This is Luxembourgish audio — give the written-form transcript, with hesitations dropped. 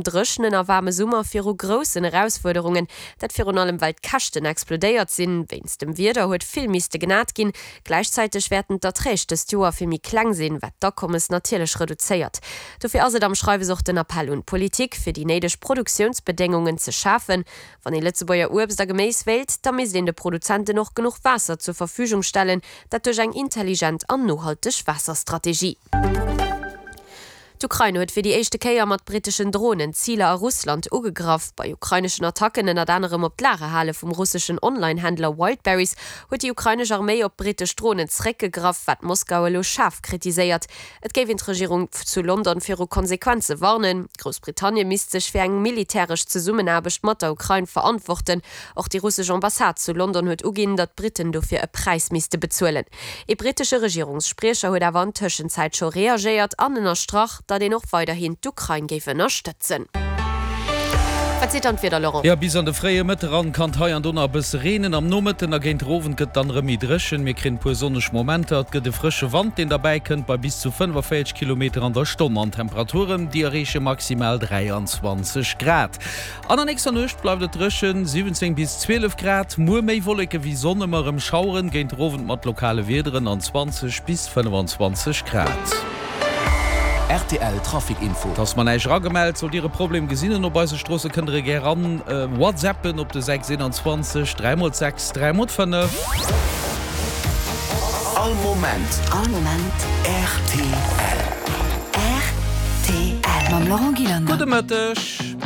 Dréchenen a waarme Summer viru groussen Erausfuerderungen. Dat virun allem well d'Käschten explodéiert sinn. Wéinst dem Wieder huet vill misste genat ginn. Gläichzäiteg wäerten d'Erträg dëst Joer vill méi kleng sinn, wat d'Akommes natierlech reduzéiert. Dofir ass et am Schreiwes och den Appell un d'Politik, fir déi néideg Produktiounsbedéngungen ze schafen. Wann ee Lëtzebuerger Uebst a Geméis wéilt, da misst een de Produzenten och genuch Waasser zur Verfügung stellen, dat duerch eng intelligent an nohalteg Waasserstrategie. D'Ukrain huet fir déi éischte Kéier mat britteschen Dronen Ziler a Russland ugegraff. Bei ukraineschen Attacken, ënnert anerem op d'Lagerhale vum russeschen Online-Händler Wildberries, huet déi ukrainesch Arméi op brittesch Dronen zeréckgegraff, wat Moskau elo schaarf kritiséiert. Et géif een d'Regierung zu London viru Konsequenze warnen. Groussbritannien misst sech fir eng militäresch Zesummenaarbecht mat der Ukrain verantworten. Och déi russesch Ambassade zu London huet uginn, datt d'Britten dofir e Präis misste bezuelen. Ee brittesche Regierungsspriecher huet awer an Tëschenzäit scho reagéiert an ënnerstrach, datt een och weiderhin d'Ukrain géif ënnerstëtzen. Wat seet dann d'Wieder, Laurent? Jo, bis an de fréie Mëtte ran kann et hei an do nach e bësse reenen. Am Nomëtten a géint der Owend gëtt et dann erëm méi dréchen. Mir kréien e puer sonneg Momenter. Et gëtt e frësche Wand, deen derbäi kënnt bei bis zu 45 Kilometer an der Stonn an Temperaturen, déi erreeche maximal 23 Grad. An der nächster Nuecht bleift et dréchen, 17 bis 12 Grad. Muer méi Wolleke wéi Sonn, ëmmer erëm Schaueren, géint der Owend mat lokale Wiederen an 20 bis 25 Grad. Rtl Trafic Info. Et ass mer näischt eragemellt. Sollt Dir e Problem gesinn en op eise Stroosse, kënnt der e gär ran whatsappen op de 6 21 3 mol 6 3 mol 5. All Moment. All Moment. Rtl. Rtl. Mam Laurent Gillander. Gudde Mëtteg.